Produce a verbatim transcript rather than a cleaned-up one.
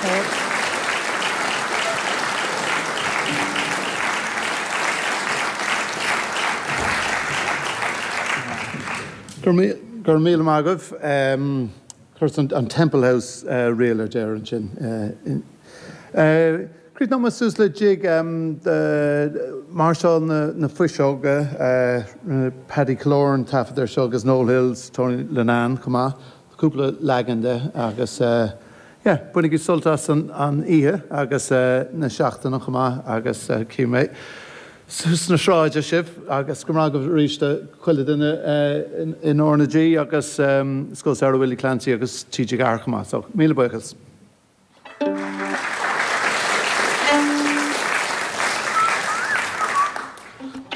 Support. Go raibh míle maith agaibh. Chuir an Temple House ríl ar deireadh ansin. Críochnóidh muid suas le jig Máirseáil na Fuiseoige, Paddy Killoran taifead ar seo agus Noel Hills, Tony Linnane chomh maith, cúpla leagan de agus yeah, bainigí sult as an oíche agus na seachtaine chomh maith agus cífidh mé sna sráide sibh agus go raibh arís chuile duine in R na G agus Scoil Samhraidh Willie Clancy agus T G Ceathair chomh maith, so míle buíochas.